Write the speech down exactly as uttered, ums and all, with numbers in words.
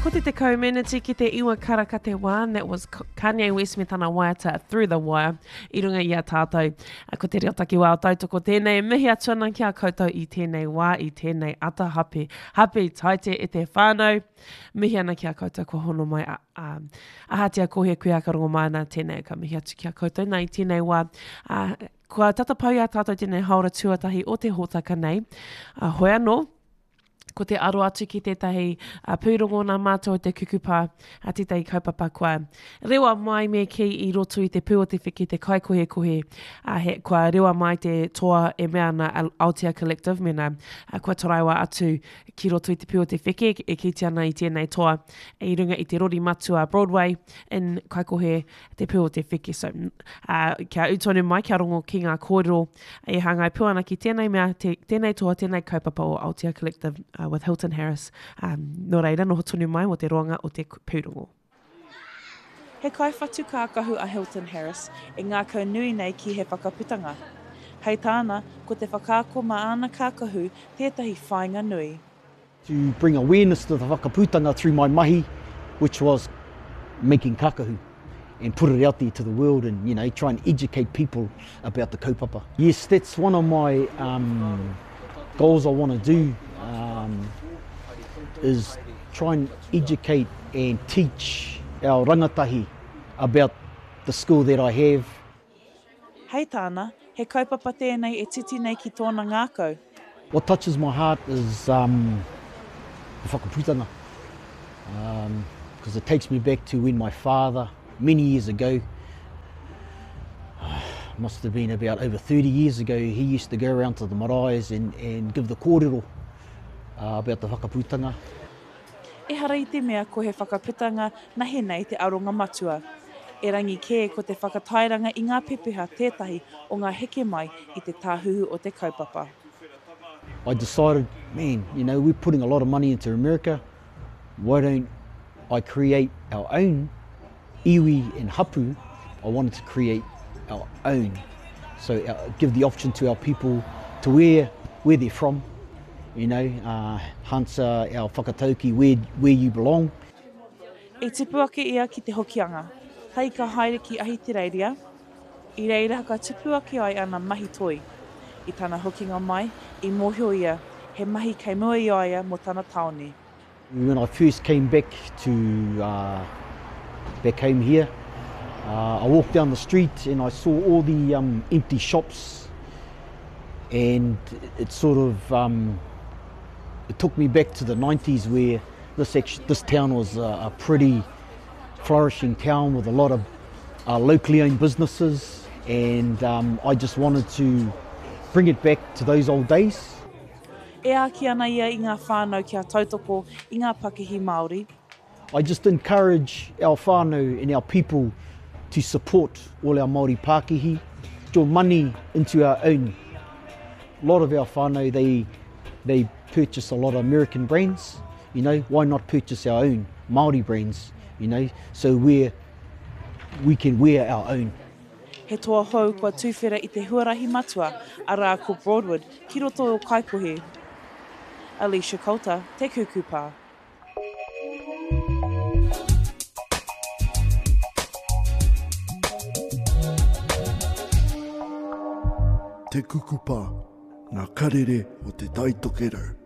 Ko te tekau meneti ki te iwa karaka te wā, and that was Kanye West me tana waiata Through the Wire i runga i a tātou. Ko te reo takiwā o tautoko tēnei, mihi atu ana ki a koutou i tēnei wā, i tēnei ata hape. Hape taite e te whānau, mihi ana ki a koutou kua hono mai a, a, ahatia ko he kuia ka rongo mai ana tēnei, ka mihi atu ki a koutou nā i tēnei wā. A, kua tata pau i a tātou tēnei haora tuatahi o te hōtaka nei. A, hoi anō, ko te aro atu ki tētahi uh, pūrongo nā mātou o te kukupa, a tētahi kaupapa kua rewa mai me kī i roto i te pū o te wheke te kaikohekohe, uh, he, kua rewa mai te toa e mea ana Aotea Collective, mena uh, kua taraiwa atu ki roto i te pū o te wheke e kīti ana i tēnei toa i runga i te rori matua Broadway in Kaikohe te pū o te wheke. So, uh, kia ū tonu mai, kia rongo ki ngā kōrero e hāngai pū ana ki tēnei mea, te, tēnei toa, tēnei kaupapa o Aotea Collective uh, with Hilton Harris. Um, nō reira, noho tonu mai mō te roanga o te pūrongo. He kaiwhatu kākahu a Hilton Harris e ngākau nui nei ki he whakaputanga. Hei tāna, ko te whakaako mā āna kākahu tētahi whāinga nui. To bring awareness to the whakaputanga through my mahi, which was making kakahu and put it out there to the world and, you know, try and educate people about the kaupapa. Yes, that's one of my um, goals I want to do, um, is try and educate and teach our rangatahi about the skill that I have. Hei tāna, he kaupapa tēnei e titi nei ki tōna ngākau. What touches my heart is um, the whakaputanga, um, because it takes me back to when my father, many years ago, must have been about over thirty years ago, he used to go around to the maraes and, and give the kōrero uh, about the whakaputanga. Ehara i te mea ko he whakaputanga nahe nei te aronga matua. Erangi kē ko te whakatairanga i ngā pepeha tētahi o ngā heke mai i te tāhuhu o te kaupapa. I decided, man, you know, we're putting a lot of money into America. Why don't I create our own iwi and hapu? I wanted to create our own. So, uh, give the option to our people to wear where they're from, you know, uh, Hansa, our whakatauki, where, where you belong. I tipu ake ia ki te Hokianga, hei ka haere ki Ahitereiria, i reira ka tupu ake ai ana mahi toi. I tana hokinga mai, i mōhio ia, he mahi kei mua i a ia mō tana tāone. When I first came back to, uh, back home here, uh, I walked down the street and I saw all the um, empty shops, and it sort of um, it took me back to the nineties where this, actu-, this town was a, a pretty flourishing town with a lot of, uh, locally owned businesses, and, um, I just wanted to bring it back to those old days. E āki ana ia i ngā whānau kia tautoko i ngā pakihi Māori. I just encourage our whānau and our people to support all our Māori pakihi, your money into our own. A lot of our whānau, they, they purchase a lot of American brands, you know, why not purchase our own Māori brands, you know, so we're, we can wear our own. He toa hou kua tūwhera i te huarahi matua, arā ko Broadwood, ki roto o Kaikohe. Alicia Coulter, Te Kukupa. Te Kukupa, ngā karere o te Tai Tokerau.